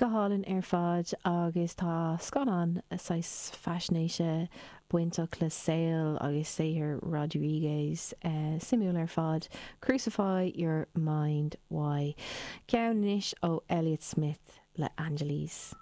Go hálainn ar fad agus tá scannán saghas faisnéise bainteach le saol agus saothar Rodriguez suimiúil ar fad, Crucify Your Mind Why. Ceann anois ó Elliott Smith le Angeles.